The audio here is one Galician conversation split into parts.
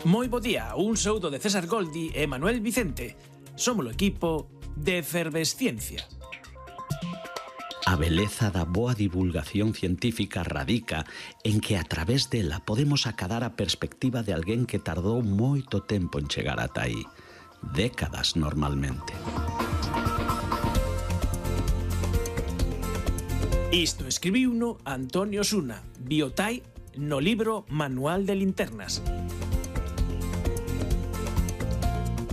Moi bo día, un saúdo de César Goldi e Manuel Vicente. Somos o equipo de Efervesciencia. A beleza da boa divulgación científica radica en que a través dela podemos acadar a perspectiva de alguén que tardou moito tempo en chegar ata aí. Décadas normalmente. Isto escribiuno Antonio Osuna, Biotai, no libro Manual de Linternas.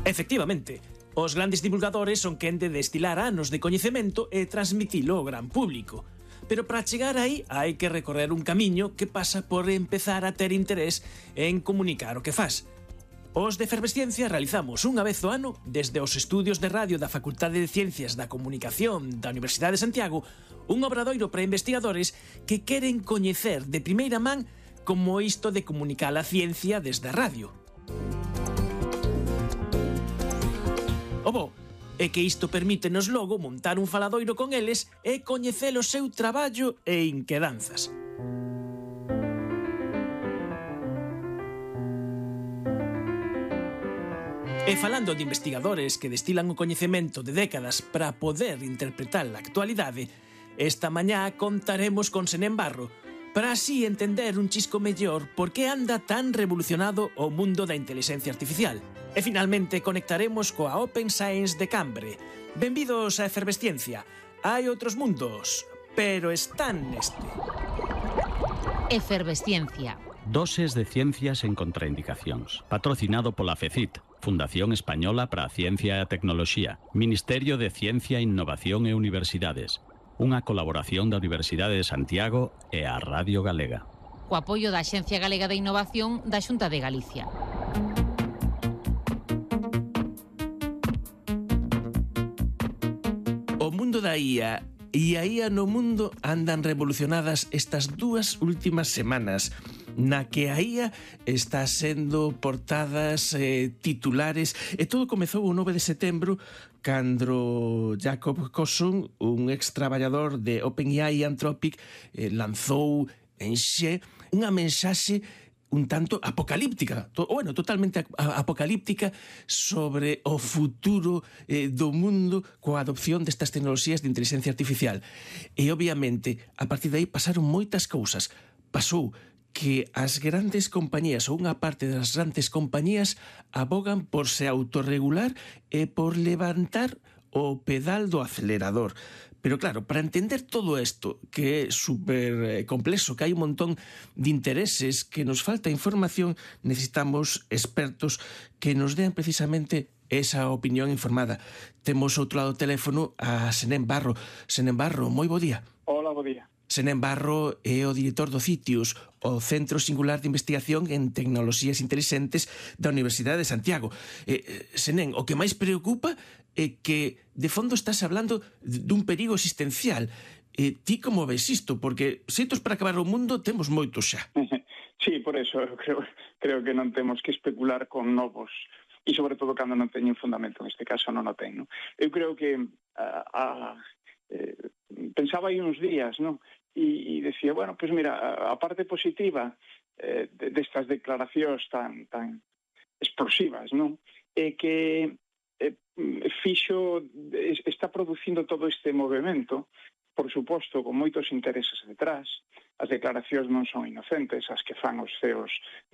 Efectivamente, os grandes divulgadores son quen de destilar anos de coñecemento e transmitilo ao gran público. Pero para chegar aí hai que recorrer un camiño que pasa por empezar a ter interés en comunicar o que faz. Os de Efervesciencia realizamos unha vez ao ano, desde os estudios de radio da Facultade de Ciencias da Comunicación da Universidade de Santiago, un obradoiro para investigadores que queren coñecer de primeira man como isto de comunicar a ciencia desde a radio. O bo é que isto permítenos logo montar un faladoiro con eles e coñecer o seu traballo e inquedanzas. E falando de investigadores que destilan o coñecemento de décadas para poder interpretar a actualidade, esta mañá contaremos con Senén Barro, para así entender un chisco mellor por que anda tan revolucionado o mundo da inteligencia artificial. E finalmente conectaremos coa Open Science de Cambre. Benvidos a Efervesciencia. Hai outros mundos, pero están neste. Efervesciencia. Doses de ciencias en contraindicacións. Patrocinado pola FECIT, Fundación Española para a Ciencia e a Tecnoloxía, Ministerio de Ciencia, Innovación e Universidades. Unha colaboración da Universidade de Santiago e a Radio Galega. Co apoio da Axencia Galega de Innovación da Xunta de Galicia. O mundo da IA e a IA no mundo andan revolucionadas estas dúas últimas semanas, na que a IA está sendo portadas titulares, e todo comezou o 9 de setembro cando Jacob Kosson, un ex-traballador de OpenAI e Anthropic, lanzou en Xe unha mensaxe un tanto apocalíptica, totalmente apocalíptica sobre o futuro do mundo coa adopción destas tecnoloxías de inteligencia artificial. E, obviamente, a partir de aí pasaron moitas cousas. Pasou que as grandes compañías ou unha parte das grandes compañías abogan por se autorregular e por levantar o pedal do acelerador. Pero claro, para entender todo isto, que é super complexo, que hai un montón de intereses, que nos falta información, necesitamos expertos que nos den precisamente esa opinión informada. Temos outro lado do teléfono a Senén Barro. Senén Barro, moi bo día. Hola, bo día. Senén Barro é o director do CITIUS, o Centro Singular de Investigación en Tecnoloxías Intelixentes da Universidade de Santiago. Senén, o que máis preocupa é que, de fondo, estás hablando dun perigo existencial. Ti como ves isto? Porque xeitos para acabar o mundo temos moitos xa. Sí, por eso creo que non temos que especular con novos, e sobre todo cando non teñen fundamento, neste caso non o ten, non? Eu creo que pensaba aí uns días, non? E decía, bueno, pues mira, a parte positiva destas declaracións tan explosivas, non? É que está producindo todo este movimento, por suposto, con moitos intereses detrás. As declaracións non son inocentes, as que fan os CEOs de